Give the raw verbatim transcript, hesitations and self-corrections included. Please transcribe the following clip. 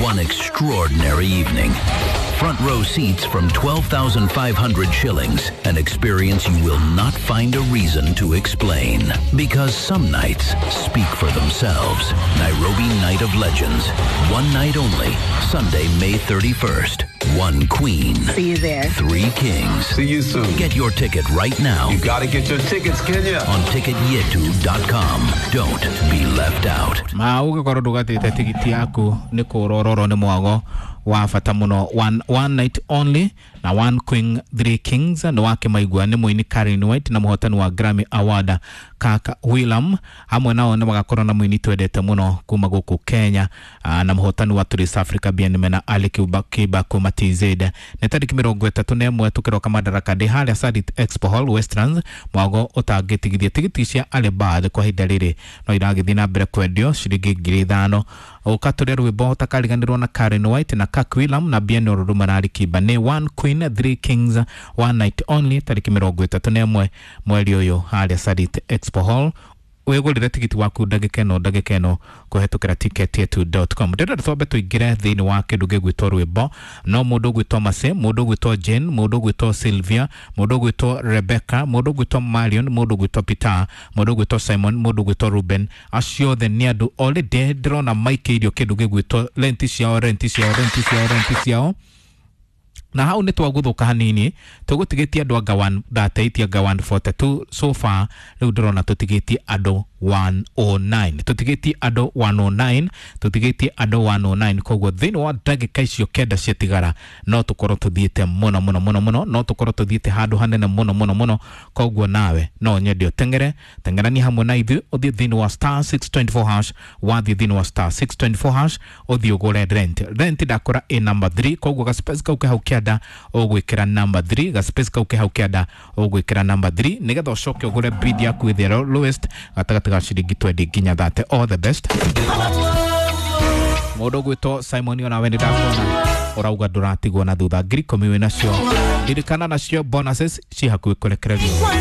One extraordinary evening. Front row seats from twelve thousand five hundred shillings. An experience you will not find a reason to explain. Because some nights speak for themselves. Nairobi Night of Legends. One night only. Sunday, May thirty-first. One queen. See you there. Three kings. See you soon. Get your ticket right now. You gotta get your tickets, Kenya. On ticket yetu dot com. Don't be left out. Ma ũgĩkorwo ndũgatĩte tigiti yaku nĩ kũrororwo nĩ mwago wa bata mũno. One, one night only na one queen three kings nĩ wakĩmaigua nĩ mũini Karen White na mũhotani wa Grammy Award Kaka William, hamwe nao nĩ magakorwo na mũini twendete mũno kuma gũkũ Kenya, aa, na mũhotani wa Tourist Africa Bien Mena Ali Kiba, Kiba kuma T Z. Nĩ tarĩki mĩrongo ĩtatũ na ĩmwe tũkĩroka Madaraka Day harĩa Sarit Expo Hall Westlands, mwago ũtangĩtigithia. Tigiti cia early bird kwa ihinda rĩrĩ no iragĩthiĩ na mbere kwendio ciringi ngiri ithano. Ũka tũrĩa rwĩmbo ũtakariganĩrwo na Karen White na Kirk William na Bien Oruruma na Ali Kiba nĩ one queen three kings one night only tarĩki mĩrongo ĩtatũ na ĩmwe mweri ũyũ harĩa Sarit Expo Hall. Wĩgũrĩre tigiti waku ndagĩka ĩno ndagĩka ĩno kũhetũkĩra ticket yetu dot com. Ndĩrenda twambe tũingĩre thĩinĩ wa kĩndũ gĩgwĩtwo rwĩmbo. No mũndũ ũgwĩtwo Mase, mũndũ ũgwĩtwo Jane, mũndũ ũgwĩtwo Sylvia, mũndũ ũgwĩtwo Rebecca, mũndũ ũgwĩtwo Marion, mũndũ ũgwĩtwo Peter, mũndũ ũgwĩtwo Simon, mũndũ ũgwĩtwo Ruben, acio othe nĩ andũ already ndĩrona maikĩirio kĩndũ gĩgwĩtwo renti ciao, renti ciao, renti ciao, renti ciao. Na hau nĩ twagũthũka hanini, tũgũtigĩtie andũ anga one thirty-eight anga one forty-two so far. Rĩu ndĩrona tũtigĩtie andũ one oh nine, tũtigĩtie andũ one oh nine, tũtigĩtie andũ one oh nine. Koguo thĩinĩ wa ndagĩka icio kenda ciatigara no tũkorwo tũthiĩte mũno mũno mũno mũno, no tũkorwo tũthiĩte handũ hanene mũno mũno mũno. Koguo nawe no nyende ũteng'ere, teng'erania hamwe na ithuĩ, ũthiĩ thĩinĩ wa star six twenty-four hash, wathiĩ thĩinĩ wa star six twenty-four hash ũthiĩ ũgũre rent. Rent ndakora ĩ number three, koguo gaspace kau ke hau kĩanda ũgwĩkĩra number three, gaspace kau ke hau kĩanda ũgwĩkĩra number three nĩgetha ũcoke ũgũre bid yaku ĩthero lowest gatagatĩ ga ciringi twenty nginya thirty. All the best. Mũndũ ũgwĩtwo Simon onawe nĩ ndakuona ũrauga ndũratigwo na thutha, ngiri ikũmi wĩ nacio. Ririkana nacio bonuses ci hakuhĩ kũrekererio.